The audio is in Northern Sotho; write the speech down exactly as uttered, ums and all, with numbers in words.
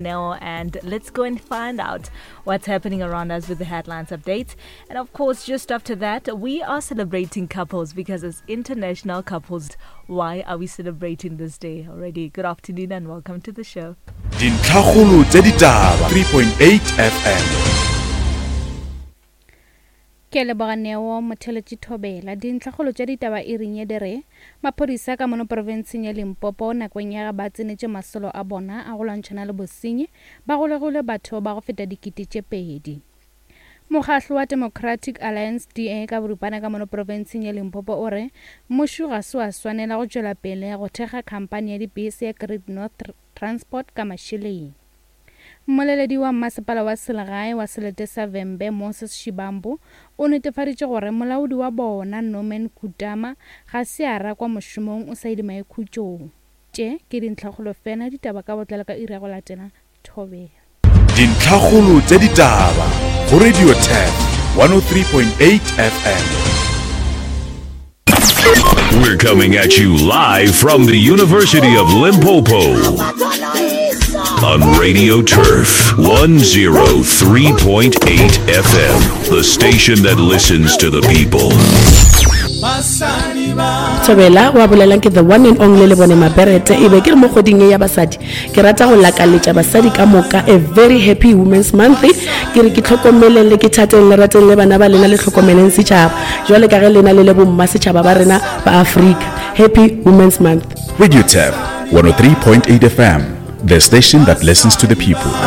Now, and let's go and find out what's happening around us with the headlines updates. And of course, just after that, we are celebrating couples because it's International Couples. Why are we celebrating this day already? Good afternoon and welcome to the show. Dintlhakgolo tša ditaba three point eight F M. Ke a leboga Neo Motheletši Thobela. Dintlhakgolo tša ditaba e reng ye di re, maphodisa ka mono profenseng ya Limpopo nakong ya ge ba tsenetše masolo a bona a go lwantšhana le bosenyi ba golegile batho ba go feta dikete tše pedi. Mokgahlo wa Democratic Alliance D A ka boripana ka mono profenseng ya Limpopo o re mmušo ga se wa swanela go tšwela pele go thekga khamphani ya dibese ya Great North Transport ka mašeleng. Mmoleledi wa mmasepala wa selegae wa selete sa Vhembe Moses Shibambu o netefaditše gore molaodi wa bona Norman Kutama ga se a rakwa mošomong o sa ile maikhutšong. Tše ke dintlhakgolo fela ditaba ka botlalo ka iri ya go latela. Thobela. Dintlhakgolo tša ditaba go Radio Turf one oh three point eight F M. We're coming at you live from the University of Limpopo on Radio Turf one oh three point eight F M, the station that listens to the people. Thobela wa bolelang ke the one and only Lebone Maberete. E be ke re mo kgweding e ya basadi ke rata go lakaletša basadi ka moka a very happy Women's Month. Ke re ke tlhokomeleng le ke thateng le rateng le bana ba lena le tlhokomeleng setšhaba jwale ka ge lena le le bomma setšhaba ba rena ba Afrika. Happy Women's Month. Radio Turf one oh three point eight F M, the station that listens to the people.